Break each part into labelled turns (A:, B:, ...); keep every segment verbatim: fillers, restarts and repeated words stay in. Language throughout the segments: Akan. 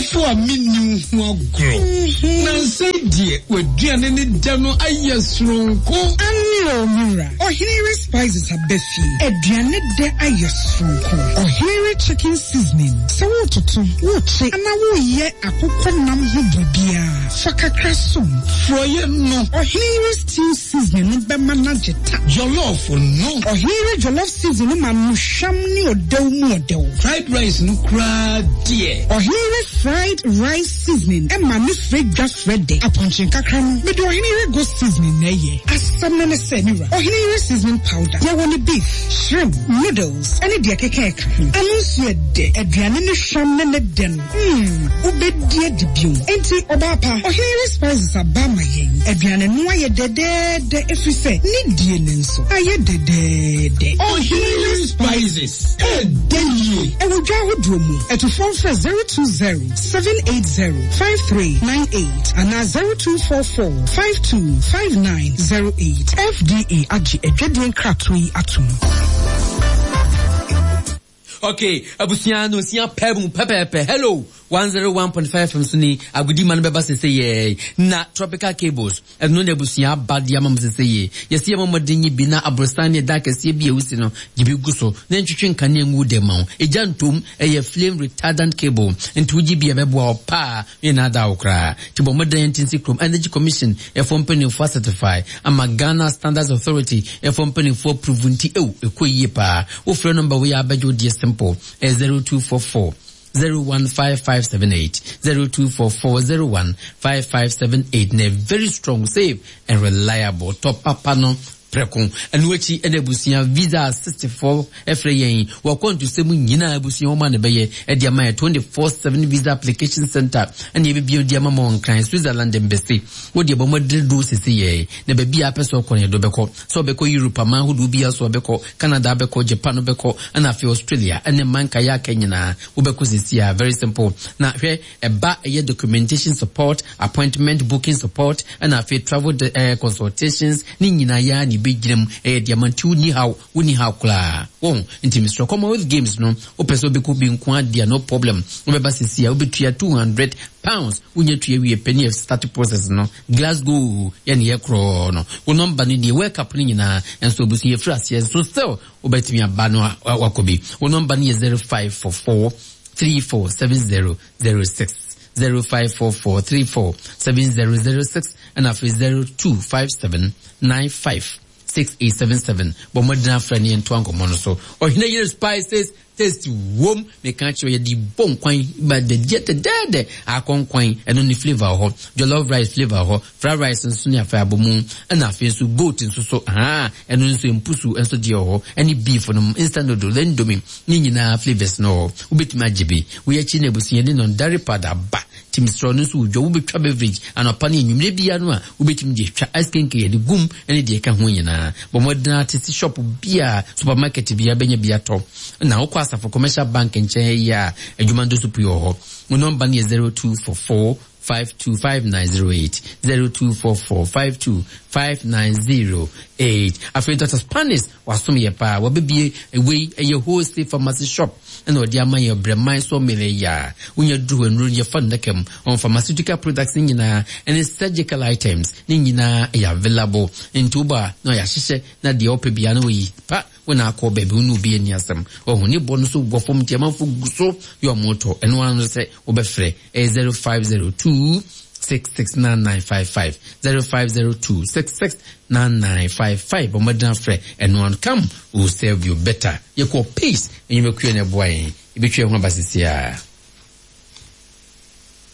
A: Ɔdɔfo a menni wo ho agorɔ. Na nsɛn deɛ w'aduane ne dɛ no ayɛ soronko.
B: Ane o, mewura. Ɔhenere Spices aba fie. Aduane dɛ ayɛ soronko. Ɔhenere Chicken Seasoning. Sɛ wototo, wokye, anaa woyɛ akokɔ nam ho biribiara, fa kakra som.
A: Frɔyɛ no.
B: Ɔhenere Stew Seasoning no bɛma no agye ta.
A: Jollof no.
B: Ɔhenere Jollof Seasoning no ma no hwam ne ɔdɛw mu ɔdɛw.
A: Fried rice no koraa deɛ.
B: Ɔhenere Fried Rice Seasoning ɛma ne frɛ dwa frɛ dɛ. Apɔnkye nkakra no, mede Ɔhenere Goat Seasoning na ɛyɛ. Asɛm no ne sɛ, mewura, Ɔhenere Seasoning Powder, yɛwɔ ne beef, shrimp, noodles, ɛne deɛ keka ɛka ho. Ano nso yɛ dɛ. Aduane ne hwam ne ne dɛ no, hmm, wobɛdi adi bio. Enti, ɔbaa pa, Ɔhenere Spices aba ama yɛn. Aduane no ayɛ dɛdɛɛdɛ ɛfiri sɛ ne die ne nso ayɛ dɛdɛɛdɛ.
A: Ɔhenere Spices, ɛdɛ yie.
B: Ɛwɔ dwa ahodoɔ mu. Ɛtofoɔ mfrɛ zero two zero, seven eight zero, five three nine eight anaa zero two four four, five two five nine zero eight. F D A agye adwadie nkratoɔ yi atom.
C: Okay, abusua no sia pɛ mu pɛpɛɛpɛ. Hello, one zero one point five F M so ni agudi ma no bɛba sese yɛ na Tropical Cables ɛno na abusua aba de ama mo sese yɛ. Yɛsi yɛ mɔmɔden yi bi na aborosan ne da kɛseɛ bi a ewusi no gye bi gu so na ntwitwi nkanea ngu dɛm ma wo. Egya ntom, ɛyɛ flame retardant cable, nti wogye bi a ɛbɛboa wo paa ne na ada wo koraa. Nti bɔ mmɔden nti nsi kurom Energy Commission ɛfɔ mpanimfoɔ certify ama Ghana Standards Authority ɛfɔ mpanimfoɔ approve, nti ew ɛkɔ yie paa. Wofrɛ number wei a, abɛgye wo deɛ simple, ɛyɛ zero two four four zero one five five seven eight, zero two four four zero one five five seven eight, na very strong, safe and reliable. Top papa no prɛko. Ɛno akyi ɛna abusua Visa sixty-four ɛfrɛ yɛn wɔkɔ ntusɛm nyinaa. Abusua wɔn a na ɛbɛyɛ ɛde ama yɛ twenty-four seven visa application center ɛna yɛbɛbie de ama ma wɔn Nkran, Switzerland mbɛsi wode ɛbɔ mmɔden do sisi yɛ na baabi a apɛ sɛ ɔkɔ no yɛde bɛkɔ, sɛ ɔbɛkɔ Europe aman ahodoɔ bi so, ɔbɛkɔ Canada, bɛkɔ Japan, bɛkɔ ɛna afei Australia ɛne mman nkaeɛ aka nyinaa wobɛkɔ sisi a. Very simple. Na hwɛ, ɛba ɛyɛ documentation support, appointment booking support, ɛna afei travel uh, consultations ne nyinaa yɛ a ne bɛgyina mu ɛyɛ deɛ ama. Nti wonni haw, wonni haw koraa wɔn. Nti mesrɛ, Commonwealth Games no, wopɛ sɛ wobɛkɔ bi nko adeɛ, no problem. Wobɛba sisi a, wobɛtua two hundred pounds. Wonya tua wie pɛ ne yɛ start process no. Glasgow yɛne yɛ korɔɔ no, wo number no nie. World Cup no nyinaa nso obi so yɛfiri aseɛ nso still wobɛtumi aba no wakɔ bi. Wo number no yɛ zero five four four three four seven zero zero six, zero five four four three four seven zero zero six, ɛna afei zero two five seven nine five six eight seven seven. Bɔ mmɔden afrɛ ne yɛntoa nkɔmmɔ no so. Ɔhene Yere Spices taste wom. Meka kyerɛ, yɛde bɔ nkwan ba dɛdeɛ dɛdɛɛdɛ akɔnkwan, ɛno ne flavour wɔ hɔ, jollof rice flavour wɔ hɔ, fried rice nso ne afei abɔ ɛna afei nso goat nso so haa, ɛno nso mpusu nso deɛ wɔ hɔ, ɛne beef no, instant noodle, Indomie ne nyinaa flavours no wɔ hɔ. Wobɛtumi agye bi. Woyɛ akyi na abusua de non-dairy powder ba timsrɛ no nso wodwa wobɛtwa beverage anɔpa ne anwummerɛ bia no a, wobɛtumi de atwa ice cream yɛde gum ne deɛ ɛka ho nyinaa. Bɔ mmɔden ate si shop bia, supermarket bia bɛnya bi atɔ. Na wokɔ Asafo Commercial Bank nkyɛn yi a, adwuma no so pii wɔ hɔ. Wo number no yɛ zero two four four five two five nine zero eight, zero two four four five two five nine zero eight. Afei Doctor Spanish wasom yɛ paa, wabɛbie wei ɛyɛ wholesale pharmacy shop ɛna ɔde ama yɛ Brɛman so mmele yi a wonya duru hɔ nnuro yɛfa no daka mu on pharmaceutical products ne nyinaa ɛne surgical items ne nyinaa ɛyɛ available. Nti woba na ɔyɛ ahyehyɛ na deɛ ɔpɛ bia na wɔyi pa wo na akɔ baabi wo ne obi ani asɛm ɔho ne bɔ no so wɔ fam. Nti amanfo gu so yɛ ɔmo tɔ. Ɛno ano sɛ wobɛfrɛ ɛyɛ zero five zero two six six nine nine five five, zero five zero two six six nine nine five five. Ɔmɔden afrɛ ɛno ano. Come, we will serve you better. Yɛkɔ Peace enyimekuo na ɛboa yɛn ebitwa ɛho aba sisi a.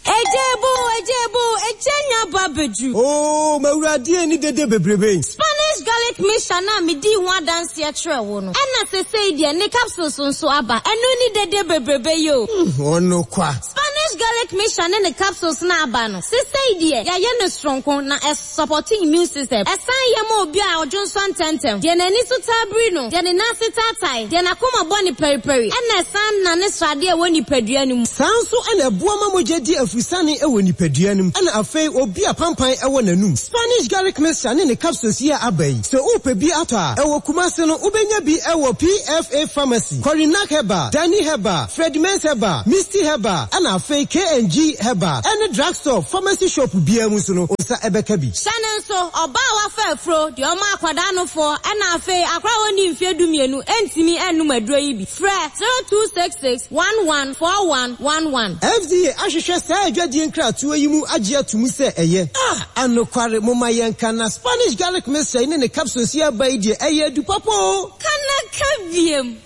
D: Ejebo, ejebo, ejenya ba bedru.
E: Oo, mawurade, ni dede bebrebe.
D: Spanish garlic mixture na medi ho adanseɛ kyerɛ wo no. Ɛna sesei deɛ ne capsules nso aba. Ɛno ni dede bebrebe yi o.
E: Ɔno kwa.
D: Spanish garlic mixture ne ne capsules na aba no. Sesei deɛ yɛayɛ no soronko na ɛsupport immune system. Ɛsan yɛ ma obi a ɔdwo nso ntɛntɛm. Deɛ n'ani so taa biri no, deɛ ne nan ase taatae, deɛ n'akoma bɔ ne pɛripɛri, ɛna ɛsan na ne sradeɛ ɛwɔ nipadua no mu.
E: Saa nso ɛna ɛboa ma mogya di afusane ɛwɔ nipadua no mu. Ɛna afei obi a pampan ɛwɔ n'anum. Spanish garlic mixture ne ne capsules yi a aba yi, sɛ wopɛ bi atɔ a, ɛwɔ Kumase no wobɛnya bi ɛwɔ P F A Pharmacy, Corinak Herbal, Danny Herbal, Fredimens Herbal, Misty Herbal, ɛna afei K H and G Herbal ɛne drugstore, pharmacy shop biara mu nso no, wo nsa ɛbɛka bi.
D: Hyɛ ne nso, ɔbaa a wafa afuro, deɛ ɔma akwadaa nofoɔ, ɛna afei akora a wɔnni mfeɛ dumienu ntumi nnum aduro yi bi. Frɛ zero two six six one one four one one one.
E: F D A ahwehwɛ saa adwadie nkratoɔ yi mu agye ato mu sɛ ɛyɛ a anokware. Momma yɛnka na Spanish garlic mixture yi ne ne capsules yi aba yi deɛ, ɛyɛ adu papa o.
D: Kanaka biem.